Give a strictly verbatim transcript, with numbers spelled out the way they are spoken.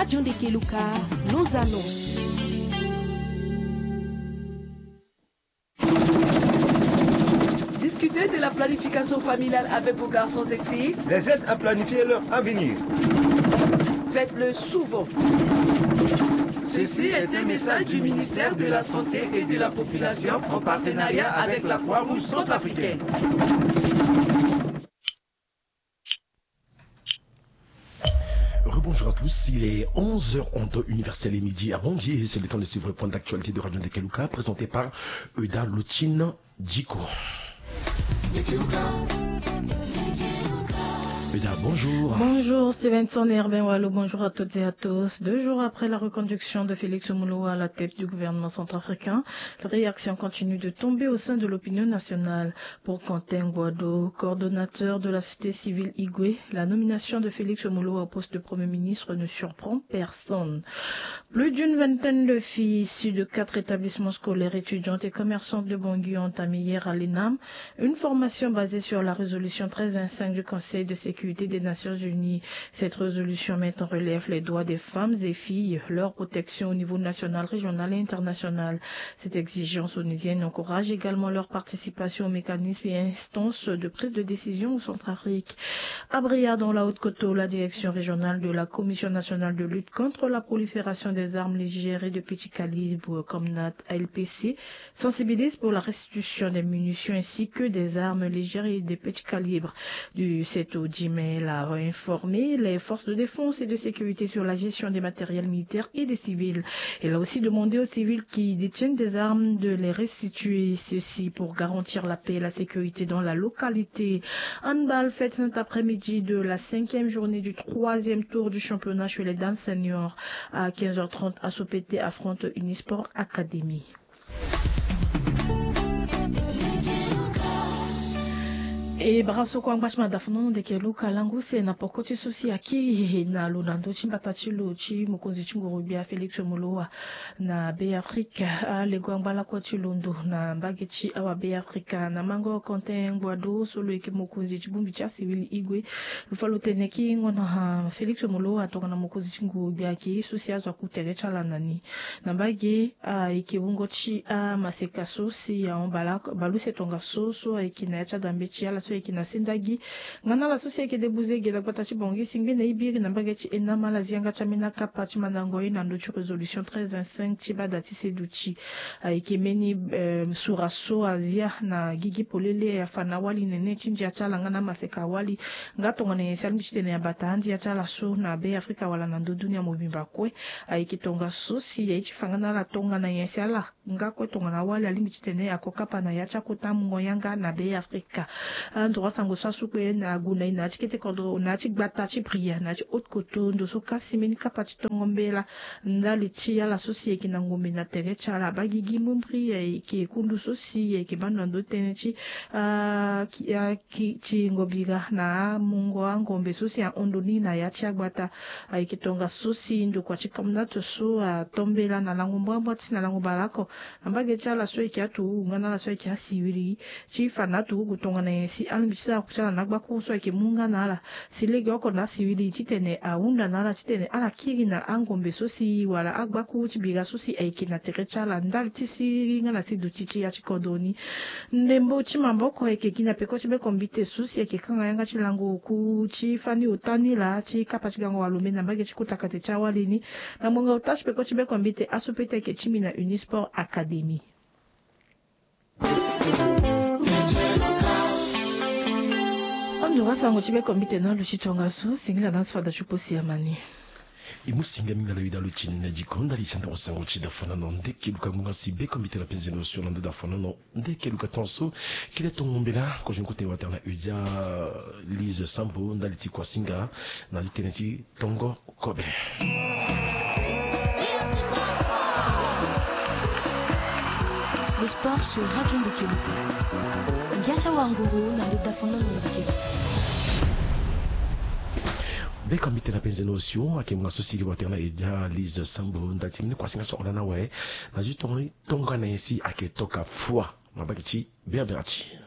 Radio Ndekeluka, nos annonces. Discutez de la planification familiale avec vos garçons et filles. Les aide à planifier leur avenir. Faites-le souvent. Ceci est un message du ministère de la Santé et de la Population en partenariat avec la Croix-Rouge centrafricaine. Rebonjour à tous, il est onze heures en temps universel et midi à Bangui. C'est le temps de suivre le point d'actualité de Radio Ndekeluka présenté par Euda Lutine Djiko. Euda, bonjour. Bonjour Stevenson et Herbin Wallou, bonjour à toutes et à tous. Deux jours après la reconduction de Félix Mouloua à la tête du gouvernement centrafricain, les réactions continuent de tomber au sein de l'opinion nationale. Pour Quentin Guado, coordonnateur de la société civile Igwe, la nomination de Félix Mouloua au poste de Premier ministre ne surprend personne. Plus d'une vingtaine de filles issues de quatre établissements scolaires, étudiantes et commerçantes de Bangui ont entamé hier à l'ENAM une formation basée sur la résolution treize vingt-cinq du Conseil de sécurité des Nations Unies. Cette résolution met en relief les droits des femmes et filles, leur protection au niveau national, régional et international. Cette exigence onusienne encourage également leur participation aux mécanismes et instances de prise de décision au Centrafrique. À Bria, dans la Haute-Kotto, la direction régionale de la Commission nationale de lutte contre la prolifération des armes légères et de petit calibre, comme N A T A L P C, sensibilise pour la restitution des munitions ainsi que des armes légères et de petit calibre. Du sept au dix mai, elle a informé les forces de défense et de sécurité sur la gestion des matériels militaires et des civils. Elle a aussi demandé aux civils qui détiennent des armes de les restituer, ceci pour garantir la paix et la sécurité dans la localité. Handball fête cet après-midi de la cinquième journée du troisième tour du championnat chez les dames seniors. À quinze heures trente, Asopete affronte Unisport Academy. E bara so kue angba ti mada fanono ndeke luka langu se na poko ti so si akiri na lo na ndö ti mbata ti lo ti mokonzi ti nguru-gbia Félix Molowa na Be Afrika. Alego angba lakue ti londo na mbage ti awa Be Afrika na mango Quentin Guado so lo yeke mokonzi ti bongbi ti asivili Igwe. Lo fa lo tene ki ngon na Félix Molowa tongana mokonzi ti nguru-gbia ayeke ye so si azo aku tere ti ala na ni. Na mbage ayeke wungo ti amaseka so si ahon baleuse tongaso so ayeke na ya ti adambe ti ala so ayeke na sendagi. Nga na ala so si ayeke debuze ge na gbata ti Bangui si ngbene e biri na mbage ti ENAM ala zi yanga ti ambeni akapa ti mandango ye na ndö ti résolution treize vingt-cinq ti bada ti seduti. Ayeke mbeni sura so azia na gigi polele afa na awali nene ti ndia ti ala nga na amaseka awali. Nga tongana nyen si alingbi titene abata andia ti ala so na Be Afrika wala na ndö dunia mobimba kue. Ayeke tongaso si aye ti fa nga na ala tongana nyen si ala nga kue tongana awali alingbi titene ako kapa na ya ti akota mungo yanga na Be Afrika. Androit sango so asu kue na ague na e na ya ti kete kodro na ya ti gbata ti Bria na ya ti Haute-Kotto ndo so kasi mbeni kapa ti tongo mbela ndali ti ala so si ayeke na ngombe na tere ti ala abaa gigi mumbri ayeke kundu so si ayeke baa ndo na ndö tënë ti ti ngobira na amungo angombe so si ahon ndo ni na ya ti agbata. Ayeke tongaso si ndokua ti Comnat so ato mbela na lango mbrambra ti na lango baleoko na mbage ti ala so ayeke aturugu nga na ala so ayeke asivili ti fa na aturugu tongana nyen si alingbi ti sara ku ti ala na agbakuru so ayeke mu nga na ala. Si legeoko na asivili titene ahunda na ala titene ala kiri na angombe so si wala agbakuru ti bira so si ayeke na tere ti ala ndali ti siriri nga na si duti ti ya ti kodro ni. Ndembo ti maboko ayeke gi na peko ti bekombite so si ayeke kanga yanga ti lango oku ti fani ota ni laa ti kapa ti gango walombe na mbage ti kota kate ti awali ni. Na ngbonga ota ti peko ti bekombite aso pete ayeke ti mbi na Unisport Academy. Ando asango ti bekombite na aluti tongaso singila na aso fada ti posi amani. E mu singa mingi na lo ida lo ti nene diko ndali ti andoro sango ti da fana na ndeke luka ngbonga si bekombite na penze na osio na ndo da fana na ndeke luka tongaso. Kile tongo mbela kozo ni kota e watara na eudia Lise Sambo ndali ti kuasinga na li tënë ti tongo kobe. Le sport sur Radio Ndekeluka. Ngia ti awanguru na ndo da fana na ndeke luka. Bekombite na penze na osio ayeke ngbonga so si li watara na eudia Lise Sambo ndali ti mbeni kuasinga so ahon na awe na zi tongo ni. Tongana nyen si ayeke toka fua na mbage ti Beabea ti.